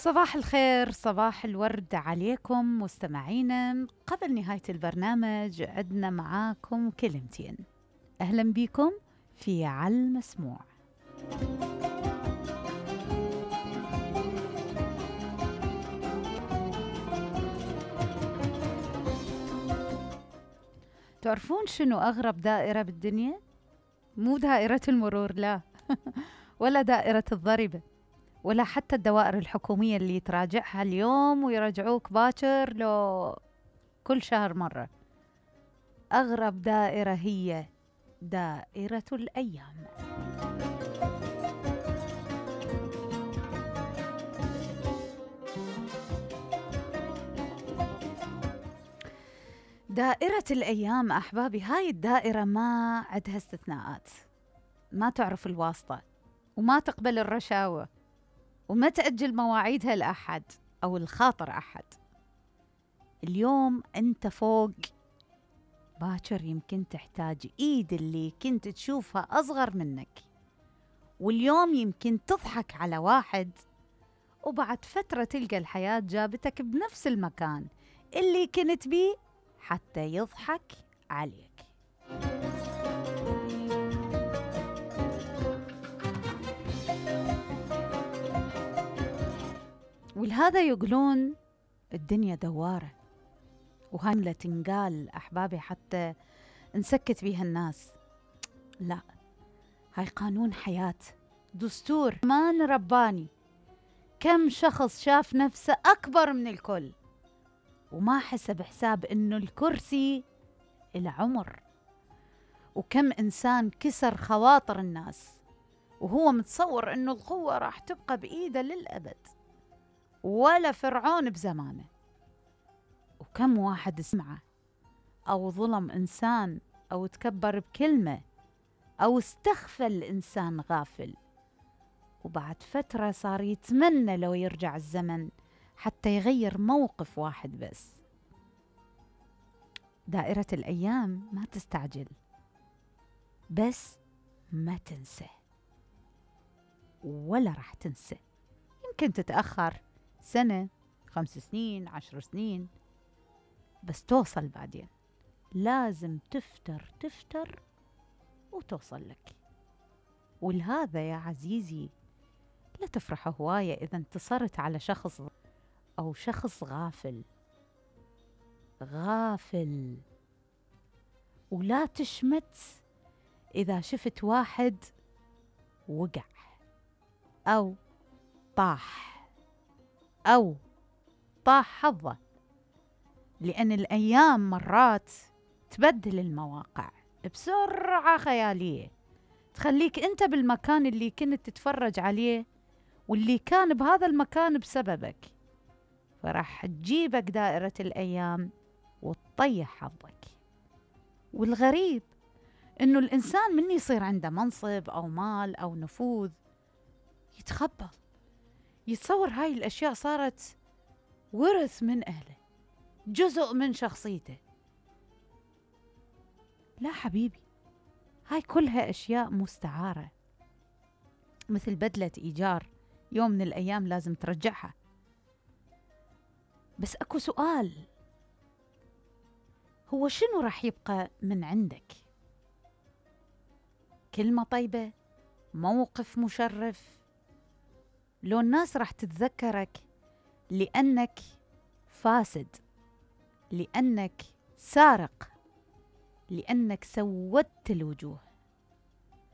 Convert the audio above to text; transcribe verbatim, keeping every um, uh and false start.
صباح الخير، صباح الورد عليكم مستمعينا. قبل نهاية البرنامج عدنا معاكم كلمتين. أهلا بكم في على المسموع. تعرفون شنو أغرب دائرة بالدنيا؟ مو دائرة المرور، لا ولا دائرة الضريبة، ولا حتى الدوائر الحكومية اللي تراجعها اليوم ويرجعوك باكر لو كل شهر مرة. أغرب دائرة هي دائرة الأيام. دائرة الأيام أحبابي، هاي الدائرة ما عندها استثناءات، ما تعرف الواسطة وما تقبل الرشاوى وما تأجل مواعيدها لأحد أو الخاطر أحد. اليوم أنت فوق، باكر يمكن تحتاج إيد اللي كنت تشوفها أصغر منك، واليوم يمكن تضحك على واحد وبعد فترة تلقى الحياة جابتك بنفس المكان اللي كنت بيه حتى يضحك عليك. ولهذا يقولون الدنيا دوارة، وهاي لا تنقال أحبابي حتى نسكت بيها الناس، لا، هاي قانون حياة، دستور مان رباني. كم شخص شاف نفسه أكبر من الكل وما حسب حساب إنه الكرسي العمر، وكم إنسان كسر خواطر الناس وهو متصور إنه القوة راح تبقى بإيده للأبد، ولا فرعون بزمانه. وكم واحد سمعه أو ظلم إنسان أو تكبر بكلمة أو استخفى الإنسان غافل، وبعد فترة صار يتمنى لو يرجع الزمن حتى يغير موقف واحد بس. دائرة الأيام ما تستعجل، بس ما تنسى ولا راح تنسى. يمكن تتأخر سنة، خمس سنين، عشر سنين، بس توصل بعدين. لازم تفتر تفتر وتوصل لك. ولهذا يا عزيزي لا تفرح هواية إذا انتصرت على شخص أو شخص غافل غافل ولا تشمت إذا شفت واحد وقع أو طاح أو طاح حظه، لأن الأيام مرات تبدل المواقع بسرعة خيالية، تخليك أنت بالمكان اللي كنت تتفرج عليه واللي كان بهذا المكان بسببك، فراح تجيبك دائرة الأيام وتطيح حظك. والغريب إنه الإنسان من يصير عنده منصب أو مال أو نفوذ يتخبل، يتصور هاي الأشياء صارت ورث من أهله، جزء من شخصيته. لا حبيبي، هاي كلها أشياء مستعارة، مثل بدلة إيجار، يوم من الأيام لازم ترجعها. بس أكو سؤال، هو شنو راح يبقى من عندك؟ كلمة طيبة؟ موقف مشرف؟ لو الناس راح تتذكرك لأنك فاسد، لأنك سارق، لأنك سودت الوجوه،